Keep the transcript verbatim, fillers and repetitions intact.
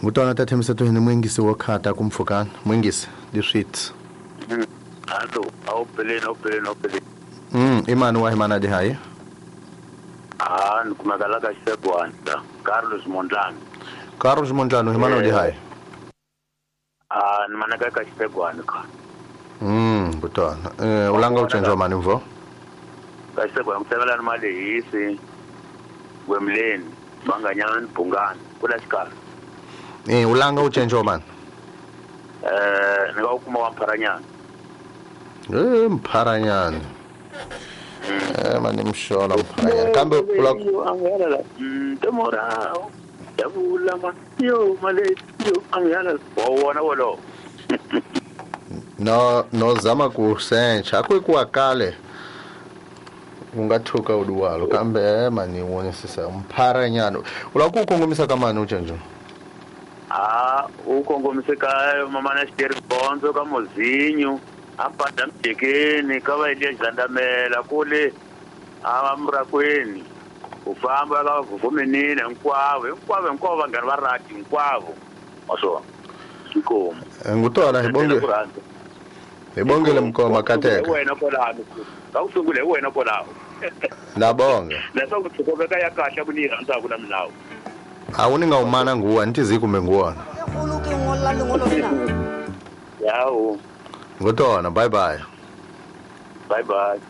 Ngutwana ta thembisa to hini mwingisi wo khata kumpfukana mwingisi diswits. Allo, au peleni au peleni au peleni. Mm, imani wa himana di hayi. Ah, nikumekala ka Xisegwana, Carlos Mondlane. Carlos Mondlane himana di hayi. Ah, ni manaka ka Xisegwana ka. Mm, ngutwana. Eh, ulanga uchenjwa mani mvo? Ka Xisegwana kusemelana mali hisi. Wemleni, Banganyana, Bungani, kula xikala. Eh, ulanga uchenjwa mani? Eh, ni nga kuma wa Mpharanyana. Eh, Mpharanyana. Eh, mani mshola Mpharanyana. Kambe ula angela mm tomorrow. Yabula ma yo male yo angela. Wona wolo. No no zama ku sencha akwe kale. Ungathuka uduwalo kambe mani wonisisa Mpharanyana. Ula ku kongomisa ka mani uchenjo? Ah, ukongomise ka mama na xiteri bonzo ka mozinyo. Ampada mjekeni ka va ile Jandamela kule amrakweni u famba ka vumenini hinkwavo hinkwavo hinkwavo vanghana va rati hinkwavo waswo xikomo ngutona hi bonge hi bongele mkoma kateka wena kwalano ka ku sungula hi wena kwalaho na bonga leswaku tshikoveka ya kahle ku ni rhandzaku na milawu a wu ni nga umana nguwa ni tizi kumbe nguwona yawo. Ngutona, bye bye. Bye bye.